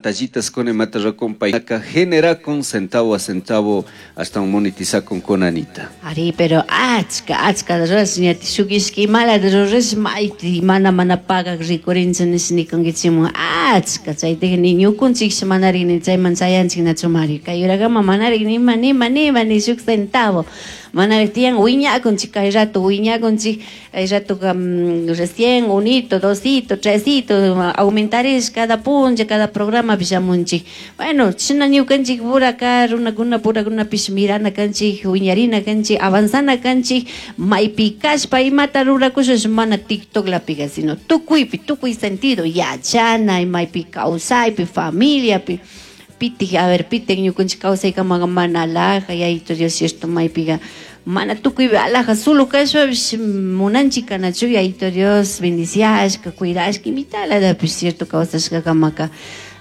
Pantallitas kuna imata ruracun payka generacun centavo a centavo ashtawan monetizacunkuna, Anita. Ari, pero achka, achka rurash ñati shuk ishki imalata rurash mayti mana mana pagak rikurinchu nish nikunkichikmun achka chaytika ni ñukunchikshi manarik ni chayman chayanchik nachu, Mario. Kay urakama manarik nima nima nima ni shuk centavo manarik tiyan. Wiñakunchik kay rato, wiñakunchik kay ratoka, recién unito, dosito, tresito aumentarish cada punlla, cada programapi shamunchik. Bueno, chashna ñukanchik puraka runakuna purakunapish mirana kanchik, wiñarina kanchik, avanzana kanchik maypi kashpa imata rurakushash, mana TikToklapika, sino tukuypi, tukuy sentido, yachana, maypi kawsaypi, familiapi. Pitik, a ver, pitik ñukanchik kawsaykamaqa mana alhaja, Yayito Dios, cierto, maypiqa mana tukuypi alhaja solo kashpapish munanchik kanachu Yayito Dios bendiciashka, cuidashka, imitalatapish, cierto, kawsashkakamaka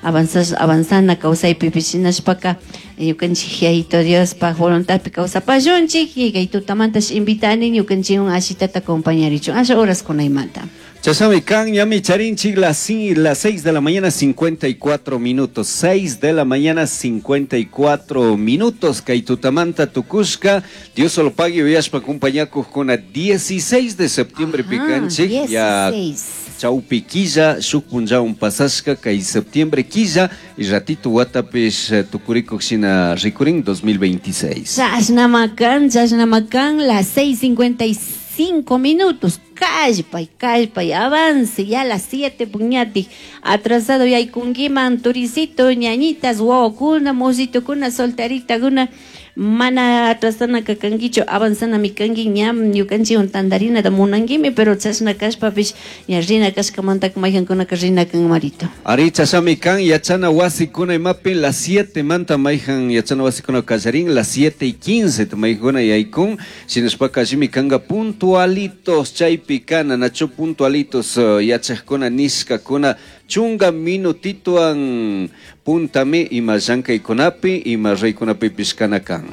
avanzash, avanzana kawsaypipish. Shinashpaka ñukanchik Yayito Diospaj voluntadpi kawsapashunchik. Y kay tutamantash invitani ñukanchikwan ashitata acompañarichun asha horas kunaymanta. Chashnami kan, ñami charinchik las 6 de la mañana 54 minutos, 6 de la mañana 54 minutos, kay tutamanta tukushka, Dios solo pague uyashpa acompañakuqkuna. 16 de septiembre pikanchik, ya 16. Chawpi killa, shuk punllawan pasashka kay septiembre killa, y ratito watapish tukurikuq shina rikurin 2026. Chashnamakan, chashnamakan, las 6:55 minutos. Kallpay, kallpay, avance, ya las 7 puñati. Atrasado yaykunkiman, turicito, ñañitas, wawakuna, mositokuna, solteritakuna, mana atrasana kankichu, avanzanami kanki. Ñam ñukanchikwan tantarinata munankimi, pero chashna kashpapish ña rina kashkamantaka mayjankunaka rina kan, Marito. Ari, chashami kan. Yachana wasikuna imapi las 7 manta mayjan yachana wasikuna kallarin, las 7 y 15 mayjuna yaykun. Shinashpaka allimi kanka puntualitos chaypi kana, nachu? Puntualitos yachaqkuna nishkakuna chunga minutituan puntami ima llankaykunapi ima raykunapipish kana kan.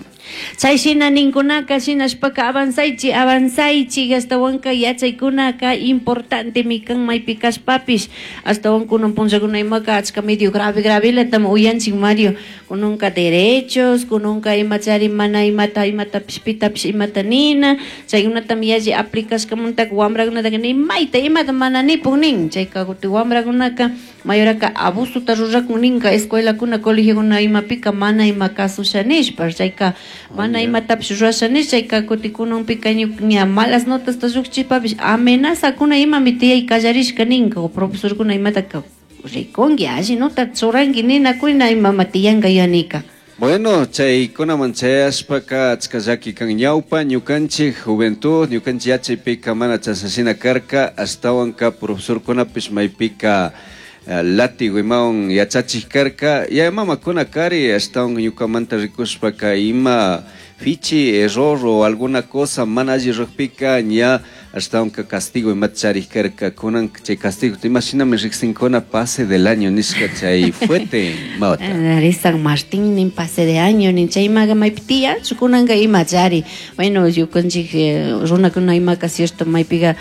Chay shina ninkunaka. Shinashpaka avanzaychi, avanzaychi. Ashtawanka yachaykunaka importantemi kan maypi kashpapish. Ashtawan kunan punllakuna imaka achka medio grave gravelatami uyanchik, Mario. Kunanka derechos, kunanka imachari mana imata imatapish pitapish imata nina, chaykunatami yalli aplicashkamantaka wambrakunataka ni mayta imata mana nipun nin. Chayka kutin wambrakunaka mayoraka abusota rurakun ninka escuelakuna, colegiokuna imapika mana ima kasusha nishpa, chayka mana imatapish rurasha nish. Chayka kutin kunanpika ña malas notasta llukchishpapish amenazakuna imami tiyay kallarishka ninka, o profesorkuna imataka rikunki alli nota churanki ninakuna imama tiyanka yanika. Bueno, chaykunaman chayashpaka achka llaki kan. Ñawpa ñukanchik juventud, ñukanchik yachaypika mana chashashina karka. Ashtawanka profesorkunapish maypika látigo imawan yachachik karka, yaya mamakuna kari. Ashtawan ñukamanta rikushpaka ima fichi error o alguna cosa mana alli rukpika ña ashtawanka castigo imata charik karka. Kunan chay castigo imashinami riksinkuna, pase del año nishka, chay fuerte mawata. Ari, San Martín nin, pase de año nin, chaymaga maypi tiyanchu kunanka imachari. Bueno, ñukanchik runakuna imaka, cierto, maypiga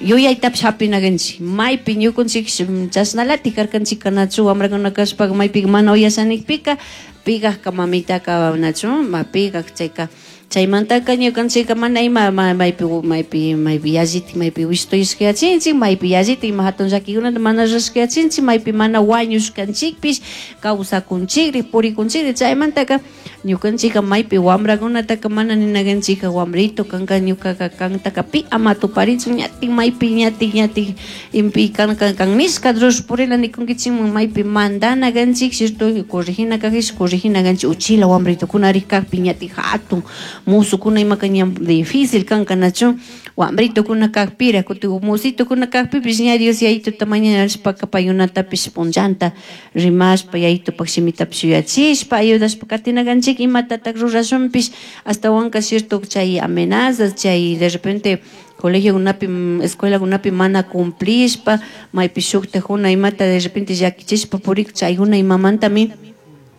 yuyaytapish hapinakanchik maypi ñukanchik chashnalatik karkanchik kanachu wambrakuna kashpaka maypika mana uyashanikpika pigajka mamitaka nachu ma pigak. Chayka chaymantaka ñukanchikka mana ima maypi maypi maypi yallitik maypi wishtuyashkayachinchik, maypi yallitik ima hatun llakikunata mana rurashkayachinchik, maypi mana wañushkanchikpish kawsakunchikri, purikunchikri. Chaymantaka ñukanchikka maypi wambrakunataka mana ninakanchikka wambrito kanka ñukaka kantaka pi ama tuparichun ñatik maypi ñatik ñatik impi kan kan kan nishka rush purila nikunkichikman. Maypi mandana kanchik, cierto, corregina kajish corregina kanchik uchila wambritukuna kakpi. Ñatik hatun musukuna imaka ña difícil kanka nachu wambritukuna kakpira. Kutin musitukuna kakpipish ña Dios Yayituta mañashpaka paykunatapish punllanta rimashpa, Yayitupak shimitapish yuyachishpa ayudashpa katina kanchik imatatak rurashunpish. Ashtawanka, cierto, chay amenazas, chay de repente colegiokunapi, escuelakunapi mana cumplishpa maypi shuktakuna imata de repente llakichishpa purik, chaykuna imamantami.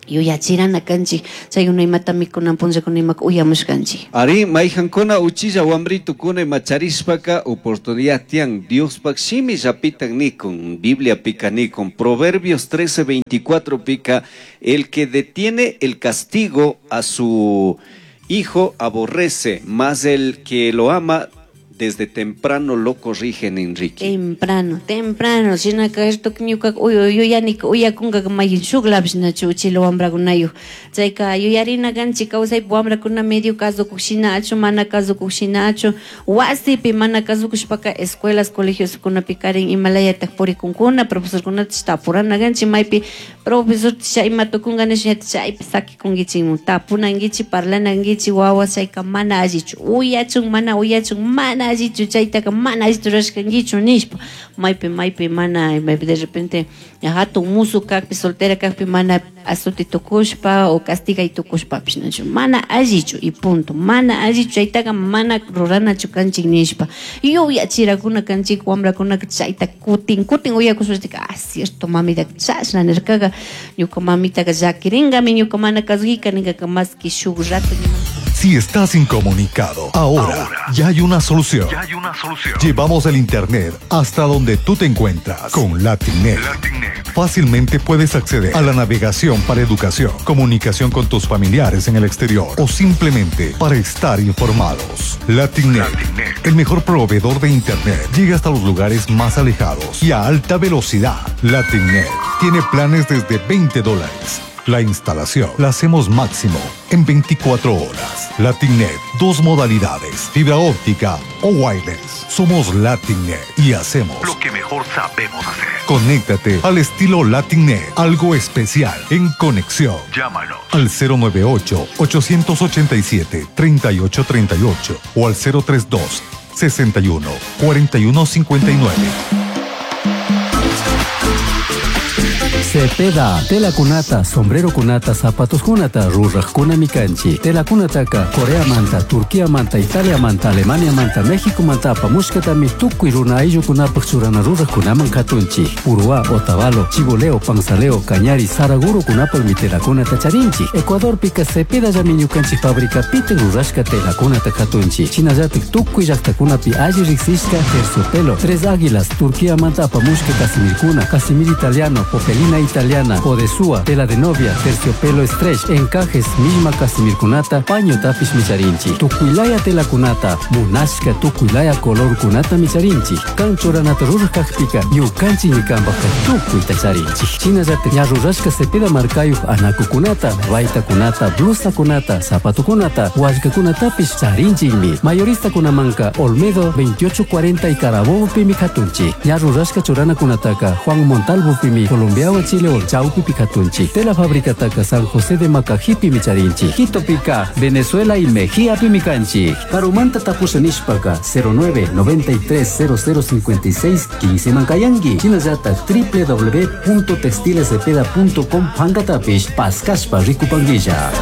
Yuyachirana kanchik, chaykuna imatami kunan punllakuna imaka uyamushkanchik. Ari, mayhankuna uchilla wambritukuna ima charishpaka oportunidad tiyan Diospak shimillapitak nikun, Bibliapika nikun, Proverbios 13:24 pika, el que detiene el castigo a su hijo aborrece, mas el que lo ama desde temprano lo corrigen, Enrique. Temprano, temprano. Shinaka esto ñuka yuyanika uyakunka mayhin shuklapish nachu uchila wambrakunayuq. Chayka yuyarina kanchik kawsaypi wambrakuna medio kasukuq shinachu, mana kasukuq shinachu, wasipi mana kasukushpaka escuelas, colegioskunapi karin imalayatak purikunkuna, profesorkunata tapurana kanchik maypi profesor chay ima tukunka nisha chaypi sakikunkichikmun, tapunankichik, parlanankichik, wawa chayka mana allichu, uyachun, mana uyachun, mana allichu, chaytaka mana allichu rurashkankichu nishpa, maypi, maypi mana, maypi de repente hatun musu kakpi, soltera kakpi mana azuti tukushpa o castigay tukushpapish nachu, mana allichu y punto, mana allichu chaytaka mana ruranachu kanchik nishpa, yuyachirakuna kanchik wambrakunaka chayta kutin kutin uyakushpa, ah, cierto mamita chashna nirkaga, ñuka mamitaka llakiringami, ñuka mana kasukika ninkaka maski shuk rato. Si estás incomunicado, ahora ya hay una solución. Ya hay una solución. Llevamos el internet hasta donde tú te encuentras con LatinNet. LatinNet. Fácilmente puedes acceder a la navegación para educación, comunicación con tus familiares en el exterior o simplemente para estar informados. LatinNet, LatinNet. el mejor proveedor de internet, llega hasta los lugares más alejados y a alta velocidad. LatinNet tiene planes desde veinte dólares. La instalación la hacemos máximo en 24 horas. LatinNet, dos modalidades, fibra óptica o wireless. Somos LatinNet y hacemos lo que mejor sabemos hacer. Conéctate al estilo LatinNet, algo especial en conexión. Llámanos al cero nueve ocho, ochocientos ochenta y siete, treinta y ocho treinta y ocho o al cero tres dos, sesenta y uno, cuarenta y uno cincuenta y nueve. Cepeda, tela kunata, sombrero kunata, zapatos kunata, rurajkuna mikanchi. Tela kunataka, Corea manta, Turquía manta, Italia manta, Alemania manta, México manta, apamushkatami tukuy runa ayllukunapaj churana rurajkunaman katunchi. Uruá, Otavalo, Chiboleo, Panzaleo, Cañari, Saraguro kunapaj mi tela kunata charinchi. Ecuador pika Cepeda llami ñukanchik fábrica pite rurashka tela kunata katunchi. Shinallatik tukuy llaktakunapi alli riksishka terciopelo, Tres Águilas, Turquía manta apamushka casimirkuna, casimir italiano, popelina italiana, odesúa, tela de novia, terciopelo stretch, encajes, misma casimirkunata, paño tapis micharinchi, tukuilaya tela kunata, munashka tukuilaya color kunata micharinchi, kanchoranata rurajkajpika, ñukanchi ñikanpajka tukuyta charinchi. Shinallata ña rurashka Cepeda markayuj anakukunata, baytakunata, blusakunata, zapatukunata, wallkakunatapis charinchikmi. Mayorista kunamanka Olmedo 2840 y Carabobo pimi katunchi. Ña rurashka churanakunataka Juan Montalvo pimi, Colombia Chile o Chaupi Picatunchi. Tela fábrica taka San José de Macajipi micharinchi. Quito pica, Venezuela y Mejía pimicanchi. Carumanta tapuse nishpaka cero nueve noventa y tres cero cero cincuenta y seis quince Mancayangui. Chinayata doble u doble u doble u punto textiles cepeda punto com pancatapish pascaspa ricupanguilla.